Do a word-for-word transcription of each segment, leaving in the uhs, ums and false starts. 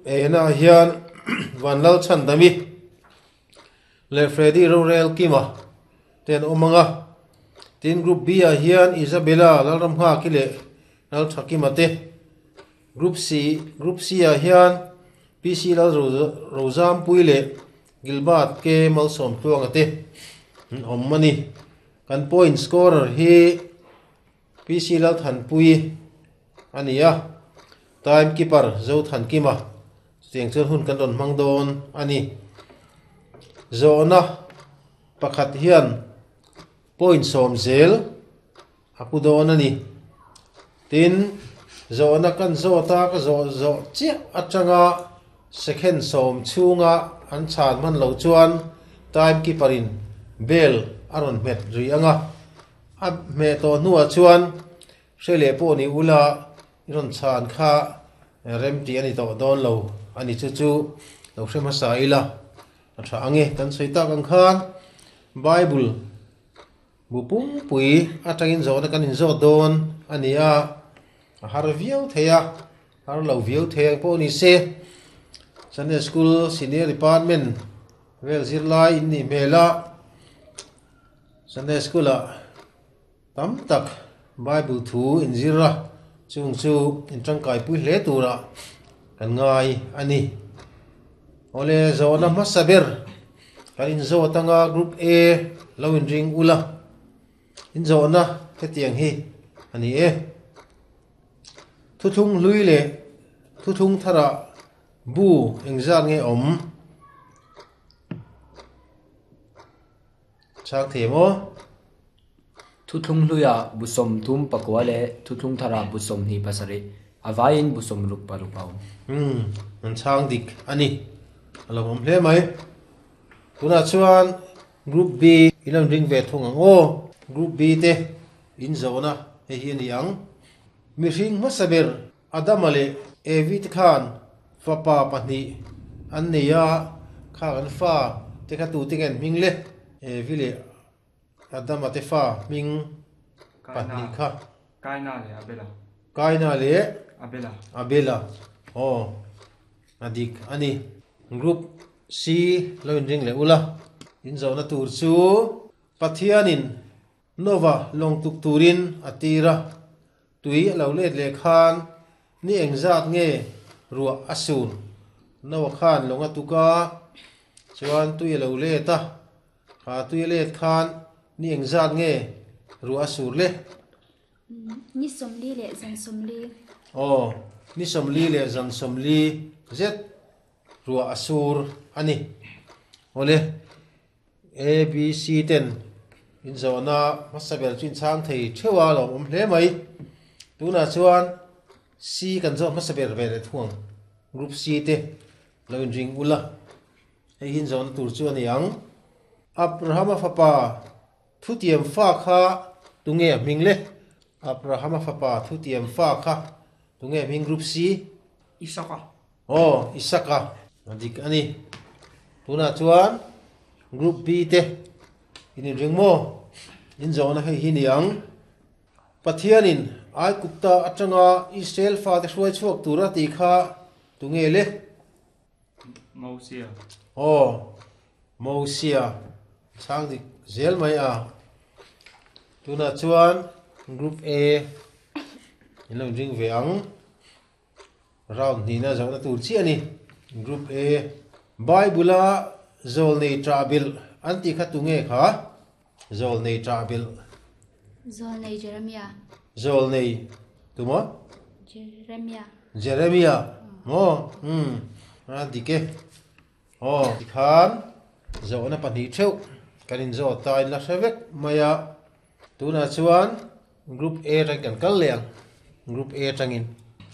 A na hian Vanlal Chhandami leh Freddy Rorel Kima ten awm anga tin Group B ah hian Isabella Lalramnghaki leh Lalthakima te Group C Group C ah hian P C Lal Rozampui leh Gilbert K Malsawm Tluanga te an awm ani kan point scorer hi P C Lalthanpui ani a time keeper Zothankima chutiang chuan hun kan rawn hmang dawn ani zawhna pakhat hian point sawm zel a pu dawn ani tin zawhna kan zawt a ka zawh zawh chiah atanga second sawm chhunga an chhan hman lo chuan time keeper in bell a rawn hmet ri anga a hmeh tawh hnuah chuan hre leh pawh ni ula i rawn chhan kha rem tih ani tawh dawn lo ani chu chu lo hre hmasa ila a tha ange kan sawi tak ang khan Bible bu pumpui atangin zawhna kan inzawt dawn ani a a har viau thei a har lo viau thei ang pawh ni se Sunday School Senior Department vel zirlai in nih hmel a Sunday School ah tam tak Bible thu in zir a chung chu in tangkai pui hle tura kan ngai ani awle zawhna hmasa ber kan inzawt anga Group A lo in ring ula in zawhna hetiang hi ani e thuthlung hlui leh thuthlung tharah bu engzat nge awm chang thei maw Thuthlung hluiah bu sawmthum pakua leh thuthlung tharah bu sawmhnih pasarih a vaiin bu sawmruk paruk a awm. Hmm an chang dik ani a lo awm hle mai tunah chuan Group B in an ring ve thung ang aw Group B te in zawhna hei hi ani ang mihring hmasa ber Adama leh Evi te khan fapa pahnih an nei a kha kan fa te kha tu te nge an hming le Evi leh Adama te fa hming pahnih kha Kaina leh Abela Kaina leh Abela Abela aw a dik ani Group C lo in ring leh ula in zawhna tur chu Pathianin Nova lawng tuk turin a tir a tui a lo let leh khan ni engzat nge ruah a sur Noah khan lawng a tuk a chuan tui a lo let a kha tui a let khan ni engzat nge ruah a sur le Ni sawmli leh zan sawmli aw ni sawmli leh zan sawmli zet ruah a sur ani awle A B C ten in zawhna hmasa ber chu in chhang thei theuh a lo awm hle mai tunah chuan C kan zawh hmasa ber ve leh thung ang Group C te lo in ring ula hei hi in zawhna tur chu ani ang Abrahama fapa thutiam fa kha tunge a hming le Abrahama fapa thutiam fa kha tunge a hming Group C Isaka aw Isaka a dik ani tunah chuan Group B te in in ring maw in zawhna hei hi ni ang Pathianin Aigupta atanga Israel fa te hruai chhuak tura tih kha tunge le Mosia aw Mosia chang dik zel mai a tunah chuan Group A in lo ring ve ang round hnihna zawhna tur chiah ani Group A Bible a zawl nei ṭah bilh an tih kha tunge kha zawl nei ṭah bilh Zawl nei Jeremiah zawl nei tumaw Jeremiah Jeremiah maw hmm a dik e aw tikhan zawhna pahnih theuh kan inzawt ta in la hre vek mai a tunah chuan Group A atang kan kal leh ang Group A atangin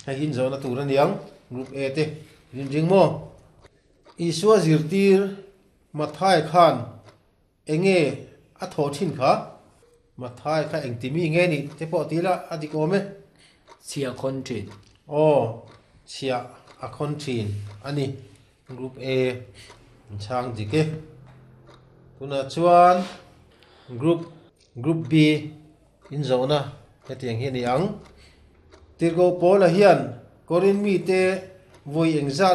hei hi in zawhna tur ani ang Group A te in ring maw Isua zirtir Mathai khan enge a thawh thin kha Mathai kha engtimi nge ni te pawh ti la a dik awm e Chhia khawn thin. Aw chhia a khawn thin ani Group A in chhang dik e tunah chuan Group Group B in zawhna hetiang hi ani ang Tirhkoh Paula hian Korin mi te vawi engzat